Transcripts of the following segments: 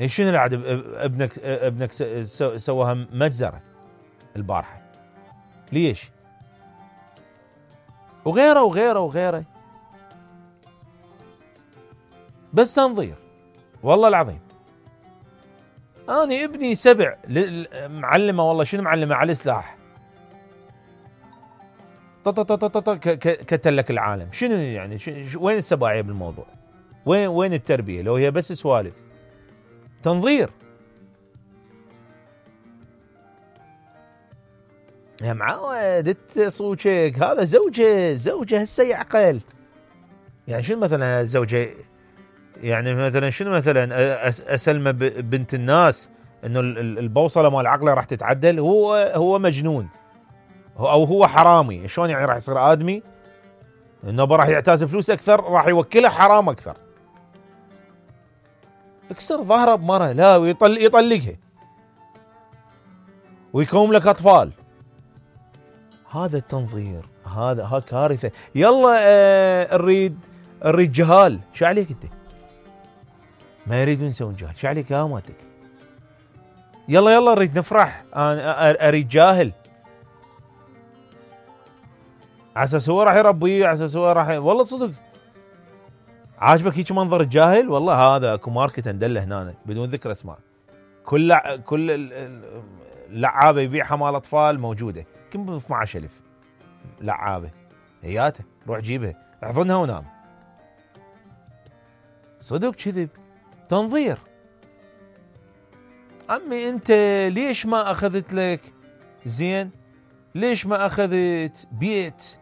شنو العاد ابنك سواها مجزرة البارحة، ليش؟ وغيره وغيره وغيره، بس تنظير والله العظيم. أنا ابني 7 معلمة، والله شنو معلمة على السلاح، كتلك العالم. شنو يعني وين السباعية بالموضوع؟ وين التربية لو هي بس سوالف؟ تنظير يا معود صوتك. هذا زوجة هسه يعقل. يعني شنو مثلا الزوجة، يعني مثلا شنو مثلا اسلمه بنت الناس انه البوصله مال عقله راح تتعدل؟ هو مجنون او هو حرامي. شلون يعني راح يصير ادمي؟ انه راح يعتاز فلوس اكثر، راح يوكلها حرام اكثر. اكسر ظهره بمره لا يطلقها ويكوم لك اطفال. هذا التنظير، هذا كارثه. يلا نريد جهال. شو عليك انت؟ ما يريدون يسوون جهل. شو عليك يا ماتك؟ يلا نريد نفرح. انا اريد جاهل على اساس هو راح يربيه، على اساس هو راح والله صدق. عاجبك هيك منظر الجاهل؟ والله هذا اكو ماركت ندله هنا بدون ذكر اسماء. كل لعابه يبيعها مال اطفال موجوده، يمكن ب 12000 لعابه. هياته روح جيبها احضنها ونام. صدق كذب. تنظير. عمي انت ليش ما اخذت لك زين؟ ليش ما اخذت بيت؟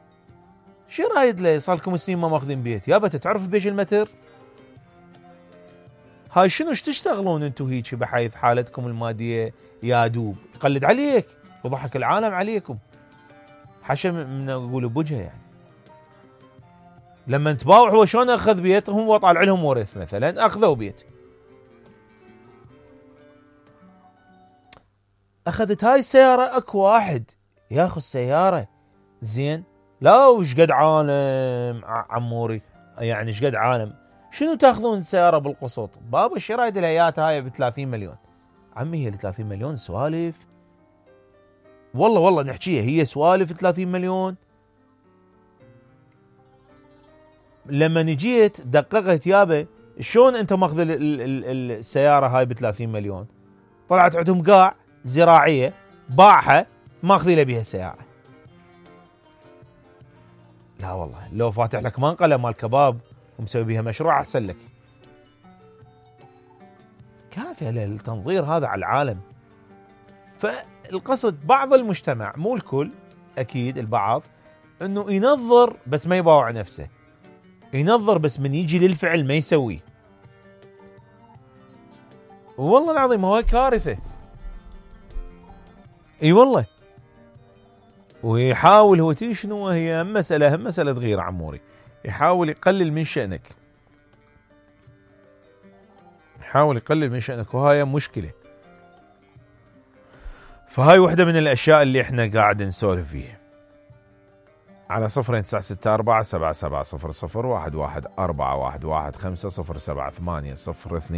شو رايد له؟ صار لكم سنين ما ماخذين بيت. يابا تعرف بيش المتر؟ هاي شنو ايش تشتغلون انتو هيك بحيث حالتكم الماديه يا دوب؟ يقلد عليك وضحك العالم عليكم. حشا من اقول بوجهه. يعني لما تباوع هو شلون اخذ بيت؟ هم طالع لهم ورث مثلا اخذوا بيت. اخذت هاي السياره اكو واحد ياخذ سياره زين. لا وش قد عالم عموري، يعني ايش قد عالم. شنو تاخذون سياره بالقسط؟ بابا ايش رايد الهيات هاي ب 30 مليون؟ عمي هي 30 مليون سوالف. والله نحكيها هي سوالف 30 مليون. لما نجيت دققت يابا شلون انت ماخذ السياره هاي ب 30 مليون؟ طلعت عندهم قاع زراعيه باعها ماخذي له بيها السياره. لا والله لو فاتح لك منقله مال كباب ومسوي بيها مشروع احسن لك. كافي التنظير هذا على العالم. فالقصد بعض المجتمع مو الكل، اكيد البعض، انه ينظر بس ما يباوع نفسه، ينظر بس من يجي للفعل ما يسويه. والله العظيم هو كارثه. اي والله. ويحاول هو تي شنو هي مسألة صغيرة عموري، يحاول يقلل من شأنك، يحاول يقلل من شأنك، وهاي مشكلة. فهاي واحدة من الأشياء اللي احنا قاعد نسولف فيها. على 0964 7700 11 415 078 0